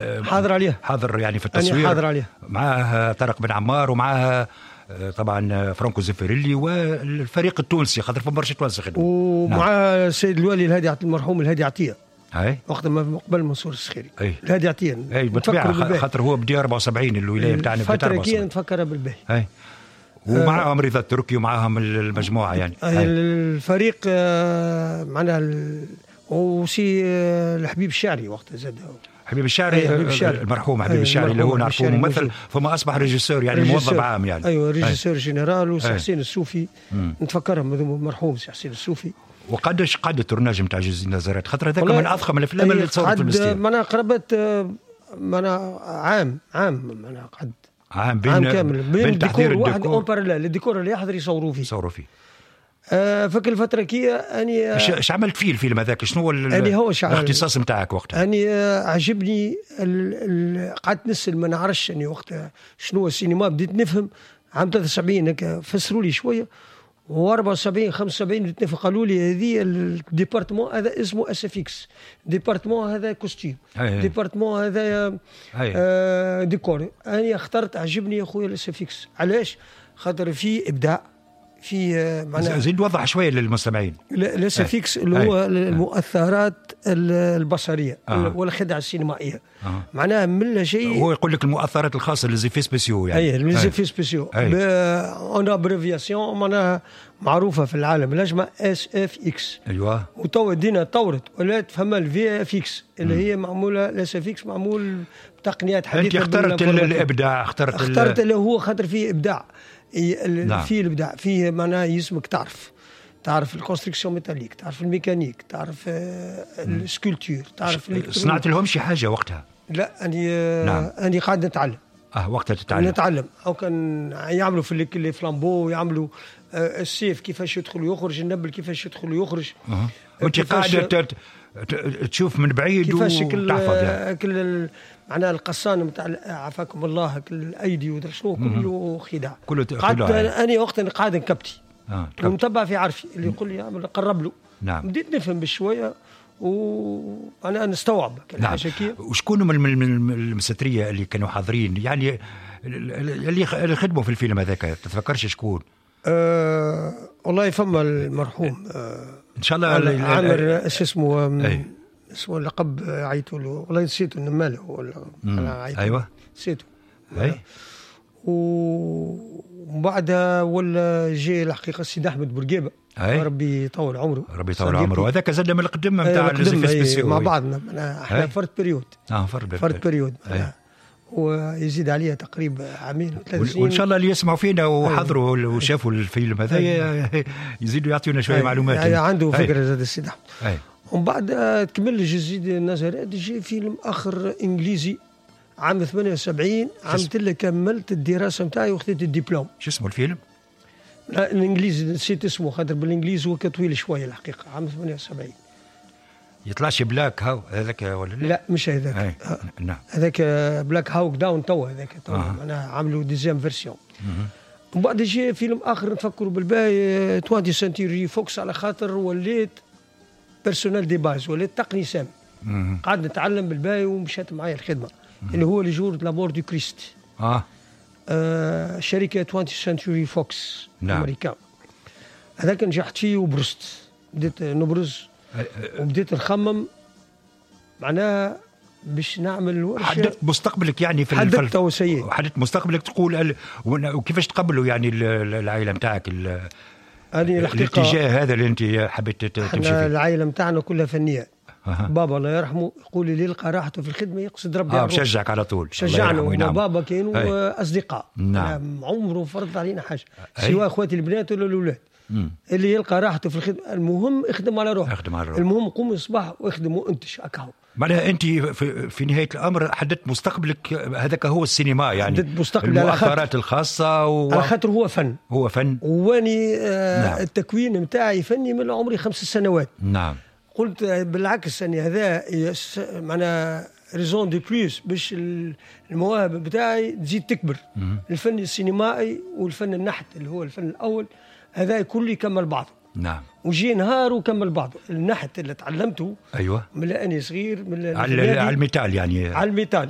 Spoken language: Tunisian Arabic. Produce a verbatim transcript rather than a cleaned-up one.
حاضر عليها. حاضر يعني في التصوير. حاضر عليها. معاه طارق بن عمار ومعاه طبعا فرانكو زيفيريلي والفريق التونسي، خاطر فما برشا توانسة خدموا. ومع نعم. السيد الوالي الهادي المرحوم الهادي عطية. اي وقت ما قبل منصور السخيري. اي الهادي عطية. اي بالطبيعة خاطر هو بدا أربعة وسبعين الولاية نتاعنا بدات أربعة وسبعين. نتفكرها بالباهي. اي ومعاهم رضا التركي ومعاهم المجموعة يعني. أي. الفريق معناها وسي الحبيب الشعري وقتها زاد. حبيب الشعري، حبيب الشعري المرحوم حبيب الشعري اللي هو نعرفوه ممثل، ثم اصبح régisseur يعني موظف عام يعني. ايوه régisseur général. وسي حسين السوفي نتفكرهم المرحوم سي حسين السوفي. وقداش قعد ال tournage نتاع Jésus de Nazareth؟ خاطر هذاك من اضخم الافلام اللي تصورت في المستير. معناها قربت معناها عام عام معناها قعد عام بين عام كامل بين تحضير الديكور واحد en parallèle، ال décor اللي يحضر يصوروا فيه يصوروا فيه. آه فك الفترة كي أني اش عملت فيه الفيلم هذاك؟ شنو هو الاختصاص نتاعك وقتها؟ أني عجبني قعدت نسأل ما نعرفش أني وقتها شنو هو السينما، بديت نفهم عام ثلاثة وسبعين هكا فسروا لي شوية، وأربعة وسبعين خمسة وسبعين بديت نفهم، قالوا لي هذه ال département هذا اسمه SFX، département هذا costume، département هذا آه ديكور. أنا اخترت عجبني يا خويا ال SFX. علاش؟ خاطر فيه إبداع في معناها. زيد وضح شوية للمستمعين. ال SFX اللي هو المؤثرات البصرية آه. والخدع السينمائية. آه. معناها من لا شيء. هو يقول لك المؤثرات الخاصة les effets spéciaux يعني. اي les effets spéciaux en abréviation معناها معروفة في العالم الاجمع SFX. ايوه. وتوا الدنيا تطورت ولات فما ال VFX اللي هي معمولة ال SFX معمول بتقنيات حديثه. انت اخترت الابداع، اخترت اخترت اللي هو خاطر فيه ابداع. نعم. فيه الابداع، فيه معناها يسمك تعرف تعرف ال construction métallique، تعرف الميكانيك، تعرف ال sculpture، تعرف. صنعت لهم شي حاجة وقتها؟ لا اني نعم. اني قاعد نتعلم. اه وقتها تتعلم. نتعلم او كان يعملوا في les flambeaux، يعملوا السيف كيفاش يدخل ويخرج، النبل كيفاش يدخل ويخرج. أه. وانت قاعدة تشوف من بعيد وتحفظ يعني. كل معناها القصان نتاع عافاكم الله كل الايدي ودرا شنو كله خداع. كله خداع. انا وقتها قاعد نكبتي آه. ونتبع في عرفي اللي يقول لي قرب له. نعم. بديت نفهم بشوية وانا نستوعب. نعم. وشكون من المستريه اللي كانوا حاضرين يعني اللي خدموا في الفيلم هذاك؟ تتفكرش شكون؟ أه والله فما المرحوم أه ان شاء الله عامر ايش اسمه اسمه اللقب عيطوا له والله نسيته النماله ولا ايوه نسيته. اي ومن بعدها ولا جي الحقيقة السيد احمد بورقيبة. أي. ربي يطول عمره. ربي يطول عمره. هذاك زاد من القدم نتاع les effets spéciaux مع بعضنا احنا فرد période. اه فرد فرد période. ويزيد عليها تقريبا عامين وثلاث سنين. وان شاء الله اللي يسمعوا فينا وحضروا وشافوا الفيلم هذا يزيدوا يعطيونا شوية معلومات. أي. عنده فكرة زاد السيد احمد. ومن بعد كمل Jésus de Nazareth، جي فيلم اخر انجليزي عام ثمانية وسبعين عام تلا كملت الدراسة نتاعي وخذيت الدبلوم. شو اسمه الفيلم؟ لا الانجليزي نسيت اسمه خاطر بالانجليزي هو طويل شوية الحقيقة. عام ثمانية وسبعين. يطلعش Black Haw هذاك ولا لا؟ لا مش هذاك. نعم هذاك Black Hawk Down توا هذاك توا معناها عملوا deuxième version. ومن بعد جي فيلم اخر نفكروا بالباهي twentieth Century Fox على خاطر وليت personnel de base، وليت تقني سامي. قعدت نتعلم بالباهي ومشات معايا الخدمة. مم. اللي هو le jour de la mort du Christ. اه, آه شركة twentieth Century Fox. نعم. امريكا. هذاك نجحت فيه وبرزت، بديت نبرز وبديت نخمم معناها باش نعمل ورشه. حددت مستقبلك يعني في حددت توسيع. حددت مستقبلك تقول وكيفاش تقبلوا يعني العائلة نتاعك الاتجاه هذا اللي انت حبيت تمشي فيه؟ العائلة نتاعنا كلها فنية. أه. بابا الله يرحمه يقول لي يلقى راحته في الخدمة يقصد ربي. اه بشجعك على طول. شجعنا بابا كانوا اصدقاء. نعم. عمره فرض علينا حاجة سواء اخواتي البنات ولا الاولاد. اللي يلقى راحته في الخدمة المهم اخدم على روحك. اخدم على روحك. المهم قوم الصباح واخدم وانتج اكاو. معناها انت في, في نهاية الامر حددت مستقبلك هذاك هو السينما يعني. حددت مستقبلي المؤثرات الخاصة و... على خاطر هو فن. هو فن. واني آه نعم. التكوين نتاعي فني من عمري خمس سنوات. نعم. قلت بالعكس اني هذا معناها raison de plus باش المواهب بتاعي تزيد تكبر. مم. الفن السينمائي والفن النحت اللي هو الفن الاول هذا كله يكمل بعضه. نعم. وجي نهار وكمل بعضه النحت اللي تعلمته ايوه من اني صغير من على على ال métal يعني. على ال métal.